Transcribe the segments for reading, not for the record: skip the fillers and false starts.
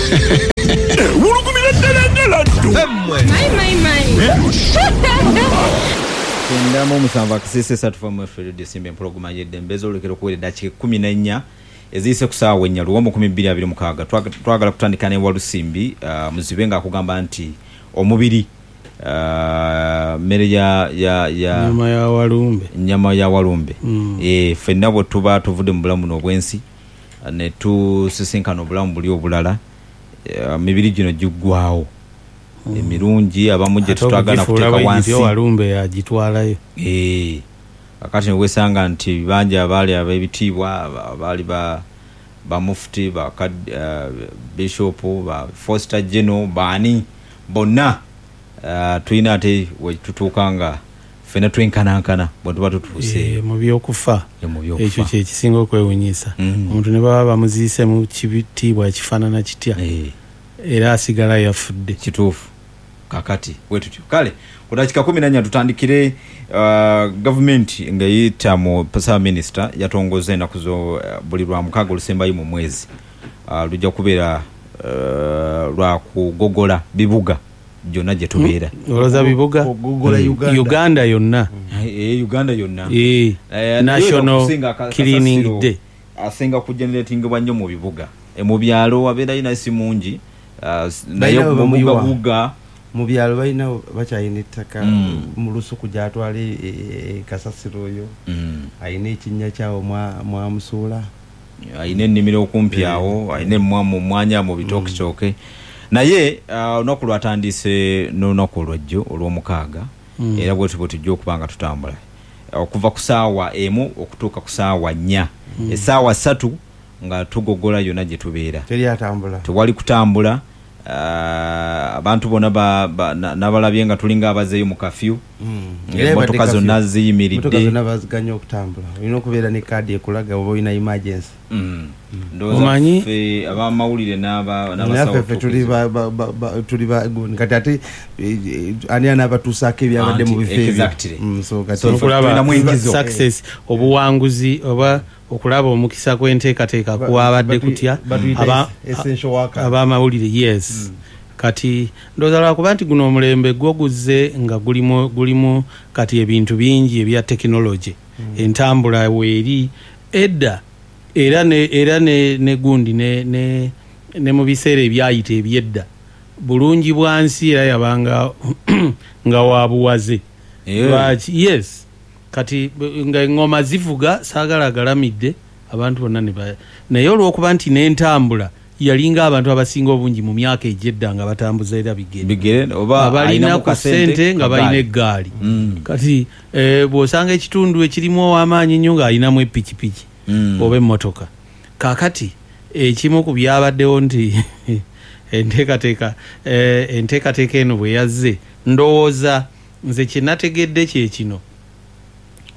Ewulugumira ddala ddala ddu. My, my, my. 97 akasiisa esatu famu efe Desimba empologoma y'eddembe ez'olulekero okuwera eddakiika 14 eziyise ku ssaawa 4 luwombo 2026. Twagala kutandika ne Walusimbi Muzibe ng'akugamba nti omubiri mmere ya ya ya Nyama ya walumbe. Nyama ya walumbe. Ffenna bwe tuba tuvudde mu bulamu buno obw'ensi ne tusisinkana obulamu buli obulala, mibiri gino giggwawo. Emirungi abamu gye Ate tutwagala okugifuula kuteeka bwe wansi. gityo walumbe yagitwalayo. Kakati ne weesanga nti bangi abaali ab'ebitiibwa, abaali ba mufti, ba bishop, ba foster general, baani bonna, tulina ate we tutuuka nga ffenna twenkanankana bwe tuba tutuuse. Mu byokufa. Mu byokufa. Ekyo kye kisinga okwewuunyisa. Omuntu ne baba bamuziise mu kitiibwa ekifaanana kitya, era asigala yafudde. Kituufu. Kakati bwe tutyo. Kale ku dakiika 14 tutandikire, gavumenti ng'eyita mu ssaabaminisita yatongoza ennaku zo, buli lwa mukaaga olusembayo mu mwezi. Lujja kubeera, lwa kugogola bibuga gyonna gye tubeera. Olowooza bibuga? Kugogola Uganda. Uganda yonna. Uganda yonna. National Naye okusinga Cleaning kasasiro Day. asinga kugeneratingibwa nnyo mu bibuga. Mu byalo wabeerayo naye si mungi. Naye Balina mu bamuyiwa. bugabuga. Mu byalo balina bakyalina ettaka mu lusuku gy'atwala kasasiro oyo. Alina ekinnya kyawo mwamusuula. Alina ennimiro okumpi awo, alina mu mwanya mu bitooketooke. Naye, olunaku lwatandise n'olunaku olwajjo olw'omukaaga. Era bwe tutyo bwe tujja okuba nga tutambula. Okuva ku ssaawa 1 okutuuka ku ssaawa 4. Essaawa 3 nga tugogola yonna gye tubeera. Teri atambula. Tewali kutambula. Abantu bonna n'abalabye nga tulinga abazeeyo mu kafyu. Emmotoka Era ebadde zonna kafyu. ziyimiridde. Emmotoka zonna baziganya okutambula. Olina okubeera ne kaadi ekulaga oba olina emergency. Ndowooza Omanyi? ffe ab'amawulire n'abasawo Naffe ffe tuli tuli ba gundi. Kati ate, ani anaabatuusaako ebyabadde mu Anti, bifo ebyo? exactly. So kati So, Okulaba tulinamu enkizo. success, obuwanguzi oba okulaba omukisa gw'enteekateeka kwabadde kutya? Batuyita essential worker. Ab'amawulire, yes. Kati ndowooza lwakuba nti guno omulembe gwo guzze nga gulimu kati ebintu bingi ebya tekinologi. Entambula weeri edda era ne gundi ne mu biseera ebyayita ebyedda bulungi bwa nsi era yabanga nga wa buwaze. Lwaki? Yes. Kati nga engoma zivuga saagala agalamidde abantu bonna ne naye olw'okuba nti n'entambula yalinga abantu abasinga obungi mu myaka egy'edda nga batambuza era bigere. Bigere, oba Abalina alina ku kasente ssente nga balina kagaali. eggaali. Kati, bw'osanga ekitundu ekirimu ow'amaanyi ennyo ng'alinamu epikipiki oba emmotoka. Kaakati ekimu ku byabaddewo nti enteekateeka eno bwe yazze, ndowooza nze kye nategedde kye kino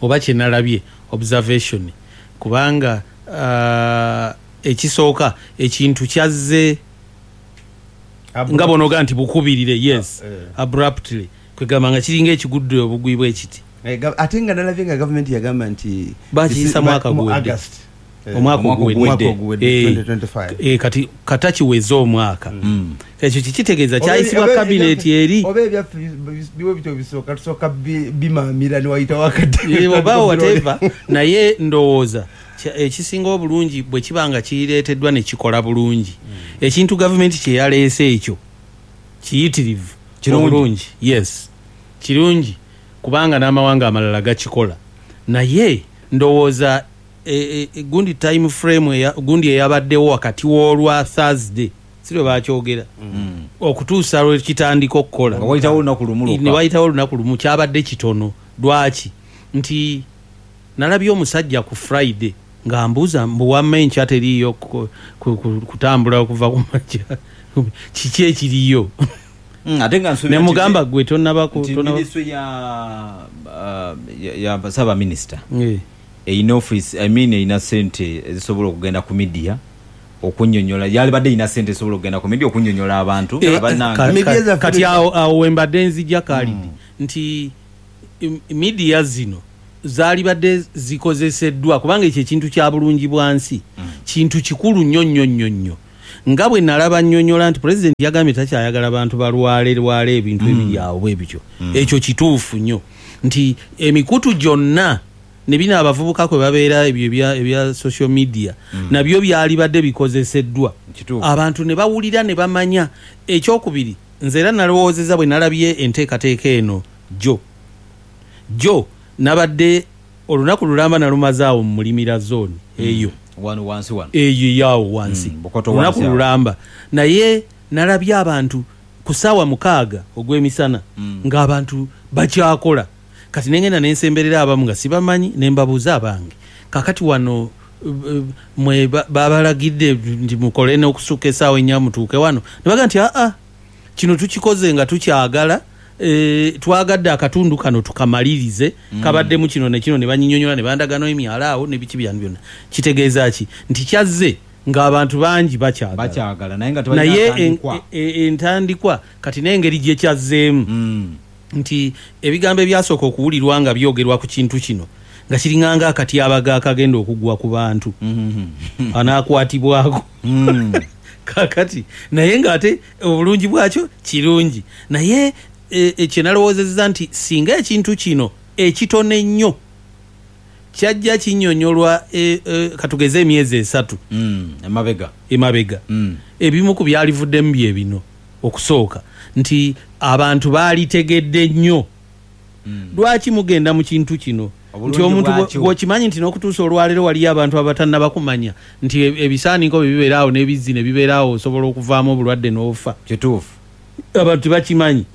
oba kye nalabye observation, kubanga, ekisooka ekintu kyazze nga bw'onoga nti bukubirire, yes, abruptly, kwegamba nga kiringa ekigudde obugwi bw'ekiti. Ate nga nalabye nga gavumenti yagamba nti Bakiyisa mwaka mu guwedde. August. Omwaka Omwaka oguwedde. oguwedde. Omwaka oguwedde, 2025. Kati kata kiweze omwaka. Ekyo kikitegeeza kyayisibwa kabineeti eri. Oba ebyaffe biwe bityo bisooka, tusooka bimaamira ne wayitawo akadde. Oba whatever, naye ndowooza ekisinga obulungi bwe kiba nga kireeteddwa ne kikola bulungi. Ekintu gavumenti kye yaleese ekyo kiyitirivu. Kirungi. Obulungi, yes. Kirungi kubanga n'amawanga amalala gakikola. Naye ndowooza gundi time frame gundi eyabaddewo wakati w'olwa Thursday, si lwe baakyogera, okutuusa lwe kitandika okukola. Nga wayitawo olunaku lumu lwokka. Ne wayitawo olunaku lumu, kyabadde kitono. Lwaki? Nti nalabye omusajja ku Friday ng'ambuuza mbu wamma enkya teriiyo kutambula okuva ku makya. Kiki ekiriyo? Ate nga nsuubira Ne nti mugamba gwe tonnaba ku- nti tonnaba minisitule ya ssaabaminisita erina office, I mean, erina ssente ezisobola okugenda ku media okunnyonnyola. Yalibadde erina ssente ezisobola okugenda ku media okunnyonnyola abantu abannange. Media zaffe Kati awo we mbadde nzija Khalid, nti media zino zaalibadde zikozeseddwa kubanga ekyo ekintu kya bulungi bwa nsi, kintu kikulu nnyo nnyo nnyo nnyo. Nga bwe nalaba nnyonnyola nti pulezidenti yagambye takyayagala bantu balwale lwale ebintu ebiri awo bwe bityo. Ekyo kituufu nnyo nti emikutu gyonna ne bino abavubuka kwe babeera ebyo ebya social media nabyo byalibadde bikozeseddwa, abantu ne bawulira ne bamanya. Ekyokubiri, nze era nalowoozezza bwe nalabye enteekateeka eno jjo nabadde olunaku lulamba nalumazaawo mu Mulimira zone eyo wano wansi wano eyo yawo wansi olunaku lulamba, naye nalabye abantu ku ssaawa 6 ogw'emisana ng'abantu bakyakola. Kati nengenda nensemberera abamu nga sibamanyi ne mbabuuza abange, kakati wano mwe babalagidde nti mukole n'okusukka essaawa 4 mutuuke wano? Ne bagamba nti aa, kino tukikoze nga tukyagala, twagadde akatundu kano tukamalirize, kabaddemu kino ne kino, ne banyinyonyola ne bandagano emyala awo ne biki byanu byonna. Kitegeeza ki? Nti kyazze ng'abantu bangi bakyagala naye nga tebalina entandikwa. Kati n'engeri gye kyazzeemu nti ebigambo ebyasooka okuwulirwa nga byogerwa ku kintu kino nga kiringanga akatyabaga akagenda okugwa ku bantu anaakwatibwako kakati, naye ng'ate obulungi bwakyo kirungi. Naye kye nalowoozezza nti singa ekintu kino ekitono ennyo kyajja kinnyonnyolwa katugeze emyezi 3 emabega, ebimu ku byalivuddemu bye bino. Okusooka nti abantu baalitegedde nnyo lwaki mugenda mu kintu kino, nti omuntu bw'okimanyi nti n'okutuusa olwaleero waliyo abantu abatannaba kumanya nti ebisaaniiko bwe bibeeraawo n'ebizzi ne bibeeraawo osobola okuvaamu obulwadde n'ofa. Kituufu, abantu tebakimanyi.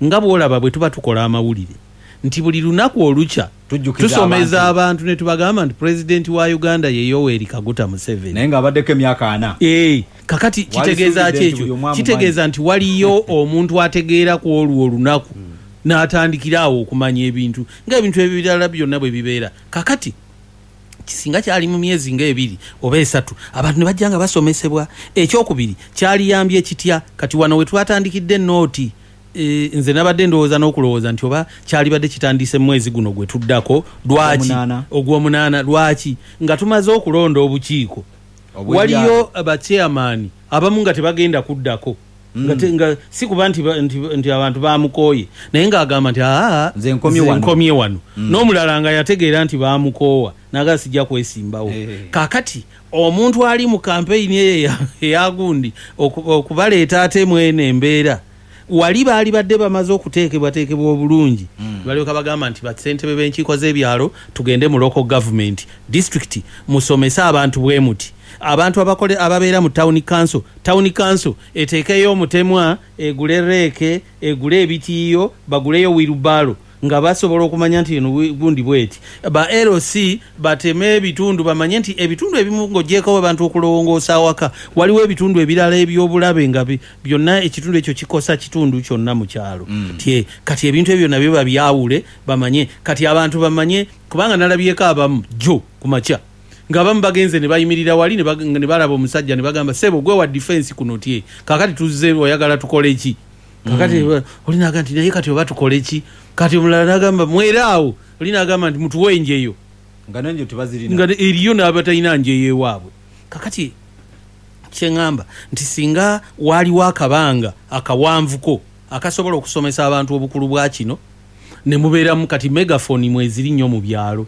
Nga bw'olaba bwe tuba tukola amawulire nti buli lunaku olukya tusomeza abantu ne tubagamba nti pulezidenti wa Uganda ye Yoweri Kaguta Museveni, naye ng'abaddeko emyaka 4. Kakati kitegeeza ki ekyo? Kitegeeza nti waliyo omuntu ategeera ku olwo olunaku n'atandikira awo okumanya ebintu ng'ebintu ebirala byonna bwe bibeera. Kakati kisinga kyali mu myezi nga 2 oba 3 abantu ne bajja nga basomesebwa. Ekyokubiri, kyaliyambye kitya? Kati wano we twatandikidde nooti, nze nabadde ndowooza n'okulowooza nti oba kyalibadde kitandise mwezi guno gwe tuddako, lwaki ogw'omunaana, lwaki nga tumaze okulonda obukiiko waliyo abachairman abamu nga tebagenda kuddako, nga si kuba nti abantu bamukooye, naye ng'agamba nti aa nze nkomye wano. N'omulala nga yategeera nti bamukoowa naga sijja kwesimbawo. Kakati omuntu ali mu kampeyini eyo eyagundi okubaleeta ate mwene embeera wali baali badde bamaze okuteekebwateekebwa obulungi, balyoka bagamba nti bassentebe b'enkiiko z'ebyalo tugende mu local government district musomese abantu bwe muti, abantu ababeera mu town council eteekeyo omutemwa, egule reeke, egule ebitiiyo, baguleyo wheelbarrow nga basobola okumanya nti eno gundi bweti. Ba LC bateme ebitundu bamanye nti ebitundu ebimu ng'ogyeko abantu okulongoosa awaka, waliwo ebitundu ebirala eby'obulabe nga byonna ekitundu ekyo kikosa kitundu kyonna mu kyalo. Kati ebintu ebyo nabyo babyawule bamanye. Kati abantu bamanye, kubanga nalabyeko abamu jjo ku makya ng'abamu bagenze ne bayimirira wali ne balaba omusajja ne bagamba ssebo gwe wa defense kuno tye, kakati tuzze oyagala tukole ki? Kakati oli n'agamba nti naye kati oba tukole ki? Kati omulala n'agamba mweraawo, oli n'agamba nti mutuwe enjeyo nga n'enjeyo tebazirina, nga eriyo n'abatalina njeyo ewaabwe. Kakati kye ŋŋamba nti singa waaliwo akabanga akawanvuko akasobola okusomesa abantu obukulu bwa kino ne mubeeramu. Kati megaphone mweziri nnyo mu byalo,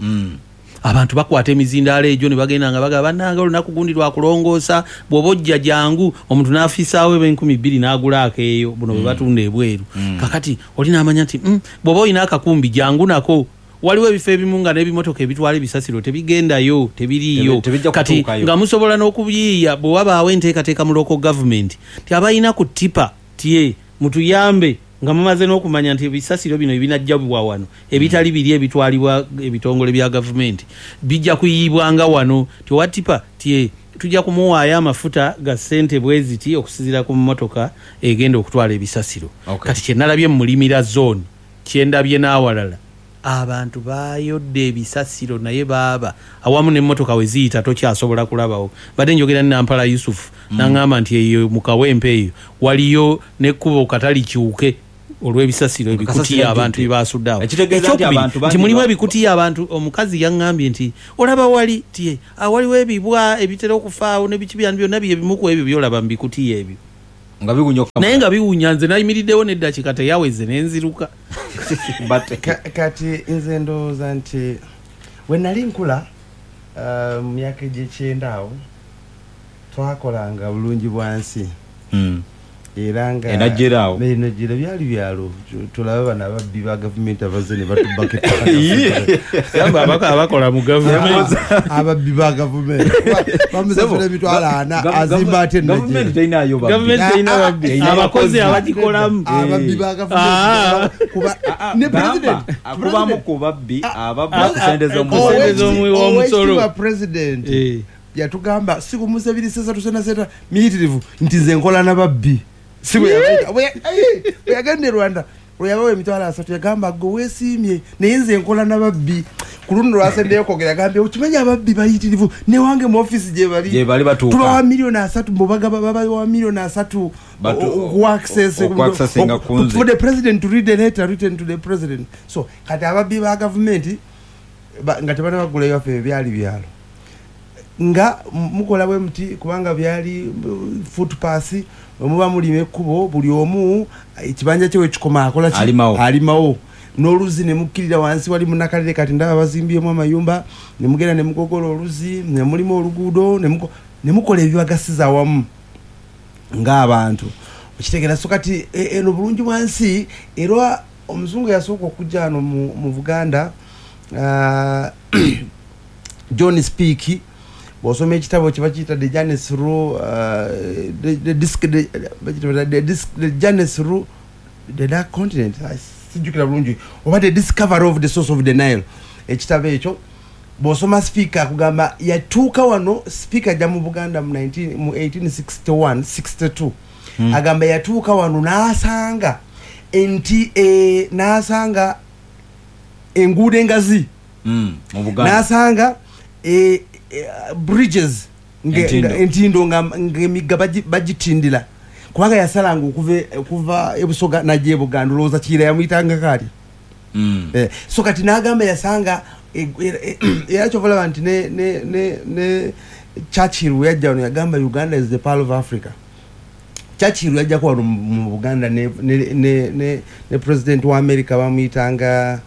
abantu bakwata emizindaalo egyo ne bagenda nga bagamba bannange olunaku gundi lwakulongoosa, bw'oba ojja jangu, omuntu n'afisaawo eb'2000 n'agula akeeyo buno bwe batunda ebweru. Kakati oli n'amanya nti bw'oba olina akakumbi jangu nako. Waliwo ebifo ebimu nga n'ebimotoka ebitwala ebisasiro tebigendayo, tebiriiyo. Kati nga musobola n'okubiyiiya bwe wabaawo enteekateeka mu local government nti abalina ku tipa tye mutuyambe nga mumaze n'okumanya nti ebisasiro bino ebinajjabwa wano ebitali biri ebitwalibwa ebitongole bya gavumenti bijja kuyiibwanga wano, ti owa tipa tye tujja kumuwaayo amafuta ga ssente bweziti okusinziira ku mmotoka egenda okutwala ebisasiro. Kati kye nalabye mu Mulimira zone, kye ndabye n'awalala, abantu bayodde ebisasiro naye baaba awamu n'emmotoka we ziyita tokyasobola kulabawo. Badde njogera ne Nampala Yusufu n'aŋŋamba nti eyo mu Kawempe eyo waliyo n'ekkubo katali kyuke. Olw'ebisasiro, ebikutiya abantu bye basudde awo. Ekitegeeza nti Ekyokubiri, abantu bangi nti mulimu ebikutiya abantu. Omukazi yaŋŋambye nti olaba wali tie awaliwo ebibwa ebitera okufaawo nebiki byanu byonna byebimu ku ebyo byolaba mu bikutiya ebyo nga biwunya naye nga biwunya. Nze nayimiriddewo n'eddakiika teyaweze nenziruka. Kati nze ndowooza nti we nali nkula, mu myaka egy'ekyenda awo, twakolanga bulungi bwansi era nga Enajjera awo. Enajjera byali byalo. Tulabe bano ababbi ba gavumenti abazze ne batubbako ettaka. Yamba abakola mu gavumenti. Ababbi ba gavumenti bamusasula emitwalo 40, azimba ate enajjera. Gavumenti terinayo babbi. Gavumenti terina babbi. Erina Abakozi abakozi. abagikolamu. Ababbi ba gavumenti. Kuba ne Gamba, president, akubamu ku babbi ababba ku sente z'omusolo. Sente z'omuwi w'omusolo. Oweekitiibwa president yatugamba si ku Museveni sesa tusena seta miyitirivu nti nze nkola na babbi. Si bwe yabayita. Bwe yagenda e Rwanda, lwe yabawa emitwalo 30, yagamba gwe weesiimye naye nze nkola na babbi. Ku luno lwasembyeyo kwogera yagambye okimanyi ababbi bayitirivu newange mu ofiisi gye bali. Gye bali batuuka. Tubawa miliyoni 30, mubagaba babawa miliyoni 30 okuaccess okuaccessinga ku nze. For the president to read the letter written to the president. So kati ababbi ba gavumenti nga tebanabagula ewaffe, byali byalo nga mukola bwe muti kubanga byali footpath. Bwe muba mulima ekkubo, buli omu ekibanja kye wekikoma akola ki? Alimawo. Alimawo n'oluzzi ne mukkirira wansi wali munakalire. Kati ndaba bazimbyemu amayumba ne mugenda ne mugogola oluzzi ne mulimu oluguudo ne mukola ebibagasiza awamu ng'abantu, okitegeera? So kati eno bulungi bwansi era omuzungu yasooka okujja wano mu Buganda, John Speke. Bw'osoma ekitabo kye bakiyita the journey through the, disc, the, bakiyita the, disc, the journey through the dark continent. Sijjukira bulungi, oba the discovery of the source of the Nile. Ekitabo ekyo bw'osoma, Speke akugamba yatuuka wano. Speke ajja mu Buganda mu 19 mu 1861 62. Agamba yatuuka wano n'asanga nti n'asanga enguudo engazi Mu Buganda. N'asanga bridges Entindo. Entindo ng'emigga bagitindira kubanga yasalanga okuva ebusoga najja ebuganda. Olowooza Kiira yamuyitangako ali? So kati n'agamba yasanga era kyova olaba nti ne Churchill we yajja wano yagamba Uganda is the pearl of Africa. Churchill yajjako wano mu Buganda ne president wa America bamuyitanga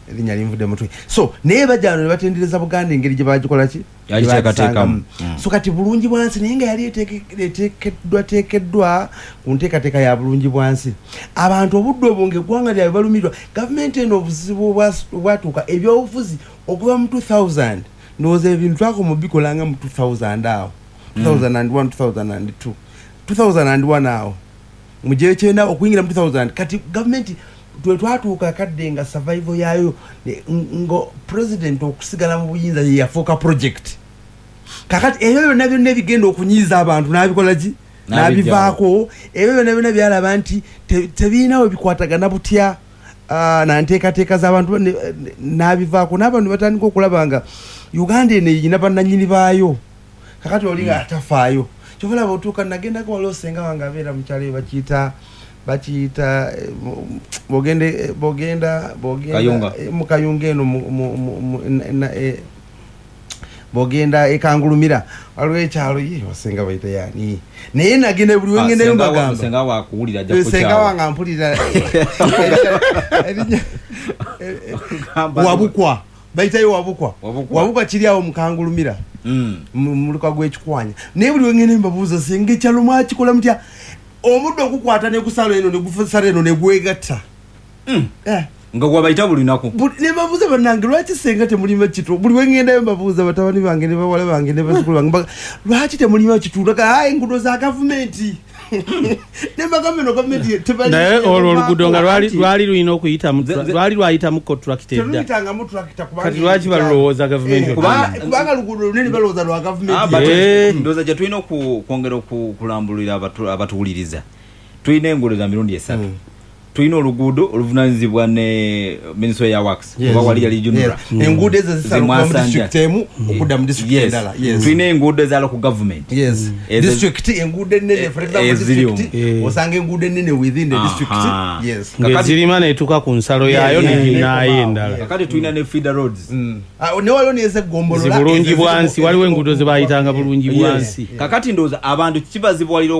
erinnya linvudde mutwe. So naye bajja wano ne batendereza Buganda engeri gye bagikola ki. Yagiteekateekamu. Gye bagisangamu. So kati bulungi bwansi naye nga yali eteekeddwa teekeddwa ku nteekateeka ya bulungi bwansi. Abantu obudde obwo ng'eggwanga lyabwe balumirwa gavumenti eno. Obuzibu obwatuuka ebyobufuzi okuva mu 2000, ndowooza ebintu twakoma bikolanga mu 2000 awo, 2001, 2002, 2001 awo mu gyekyenda okuyingira mu 2000. Kati gavumenti twe twatuuka kadde nga survival yaayo nga president okusigala mu buyinza ye yafuuka project. Kakati ebyo byonna byonna ebigenda okunyiiza abantu n'abikola ki? N'abijjawo. N'abivaako. Ebyo byonna byonna byalaba nti tebiina we bikwatagana butya na nteekateeka z'abantu n'abivaako n'abantu ne batandika okulaba nga Uganda eno erina bannannyini baayo. Kakati oli nga atafaayo. Kyova olaba otuuka nagendako waliwo senga wange abeera mu kyalo eyo bakiyita bogenda Kayunga. Mu Kayunga eno bwogenda ekangulumira waliwo ekyalo ye wasenga bayita yani naye nagenda buli wengendayo mbagamba. Senga wakuwulira ajja Senga kukyawa. wange ampulira. Wabukwa bayitayo Wabukwa. Wabukwa. Wabukwa kiri awo mukangulumira mu muluka gw'ekikwanya. Naye buli wengenda mbabuuza, senga ekyalo mwakikola mutya? Omuddo ogukwata negusala eno negusala eno negwegatta. Nga gwabayita buli lunaku. Ne mbabuuza, bannange lwaki senga temulima kitu? Buli wengendayo mbabuuza batabani bange ne bawala bange ne bazzukulu bange, lwaki temulima kitu? Ayi, enguudo za gavumenti. Ne mbagamba eno gavumenti Naye olwo oluguudo nga lwali lulina okuyitamu lwali lwayitamu contract edda. Teruyitangamu tractor kubanga Kati lwaki balulowooza gavumenti? Kubanga luguudo lunene balowooza lwa gavumenti. But ndowooza gye tulina okwongera okulambulira abatuwuliriza, tulina enguudo za mirundi esatu. Tulina oluguudo oluvunanyizibwa ne ministry ya works, oba wali yali UNRA. Enguudo ezo zisaluka mu Zimwasanja. district emu okudda mu district endala. Yes. Tulina enguudo ezala ku government. Ezo- District, enguudo ennene, for example, Eziri district, omwo. osanga enguudo ennene within the district. Yes. Ng'ezirima netuuka ku nsalo yaayo neginaayo endala. Kakati tulina ne feeder roads. Ah, ne waliwo nezegombolola. Zibulungi bwansi, waliwo enguudo zebayitanga bulungi bwansi. Kakati ndowooza abantu kibazibuwalira.